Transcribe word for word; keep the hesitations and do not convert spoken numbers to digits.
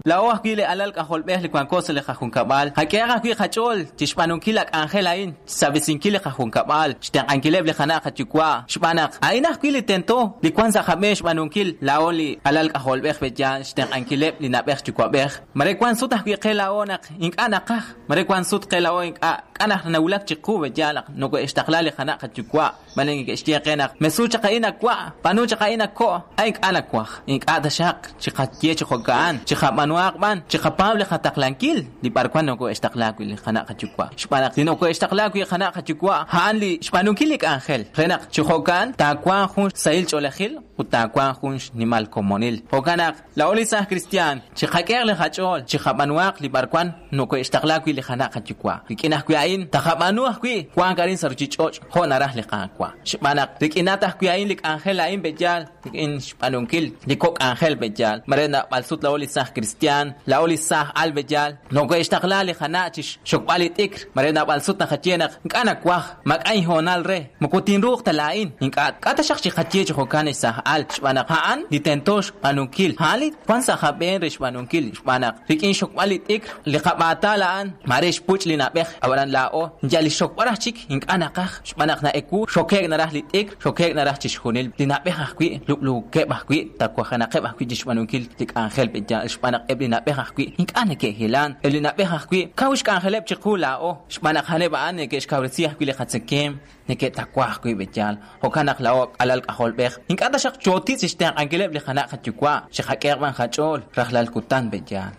Laa'o ajwi' li alal k'ajolb'ej li wanko sa' li qajunkab'al. Qak'ehaq ajwi' qach'ool chixb'aanunkil la k'anjel a'in, xsab'isinkil li qajunkab'al, xtenq'ankileb' li qana' qayuwa'. Xb'aan naq a'in ajwi' li tento li wan sa' qab'een xb'aanunkil laa'o li alal k'ajolb'ej b'eyaal xtenq'ankileb' li na'b'ej yuwa'b'ej. Mare wan sut ajwi' qe laa'o naq ink'a' naqaj, mare wan sut qe laa'o ink'a' k'a naq nawulak chiqu b'eyaal naq noko'extaqla li qana' qayuwa'. Mare neke'xye qe naq mesu chaq a'in awa', b'aanu chaq a'in ako', a ink'a' nawaj. Ink'a' taxaq chiqaye chiqo'ka'an, chiqab'anuaq b'an, chiqapaab' li qataqlankil li b'arwan noko'extaqla wi' li qana' qayuwa'. Xb'aan naq li noko'extaqla wi' qana' qayuwa' a'an li xb'aanunkil li k'anjel. Re naq chijo'ka'an taawanq jun sahil ch'oolejil ut taawanq jun xnimal komonil. Jo'kan naq laa'o li saaj cristian chiqak'ehaq li qach'ool, chiqab'anuaq li b'arwan noko'extaqla wi' li qana' qayuwa'. Rik'in ajwi' a'in taqab'aanu ajwi' wank arin sa' ruchich'och' jo' naraj li Qaawa'. Xb'aan naq rik'inat ajwi' a'in li k'anjel a'in b'eyaal rik'in xb'aanunkil li kok' k'anjel b'eyaal. Mare nab'al sut laa'o li saaj cristian, laa'o li saaj al b'eyaal, noko'extaqla li qana' chixxokb'al li t'ikr. Mare nab'al sut naqaye naq ink'a' nawaj, mak'a inhoonal re, moko tinruuq ta laa'in. Ink'a' k'a taxaq chiqaye chijo'kan ex saaj al, xb'aan naq a'an li tento xb'aanunkil. A'an li wan sa' qab'een re xb'aanunkil, xb'aan naq rik'in xokb'al li t'ikr, li qab'aatal a'an, mare xpuch' li na'b'ej, ab'anan laa'o, yal li xokb'al raj chik ink'a' naqaj, xb'aan naq na'eku, xoke'k naraj li t'ikr, xoke'k naraj chixjunil. Li na'b'ej ajwi', lub'luukeb' ajwi', tawajenaqeb' ajwi' chixb'aanunkil li k'anjel b'eyaal, xb'aan naq eb' li na'b'ej ajwi' ink'a' neke'hilan. Eb' li na'b'ej ajwi' kaw xk'anjeleb' chiqu laa'o, xb'aan naq a'aneb' a'an neke'xkawresi ajwi' li qatzekeem, neke'tawa ajwi' b'eyaal. Jo'kan naq laa'o alal k'ajolb'ej, ink'a' taxaq chootitz' xtenq'ankileb' li qana' qayuwa', chiqak'ehaq b'an qach'ool rajlal kutan b'eyaal.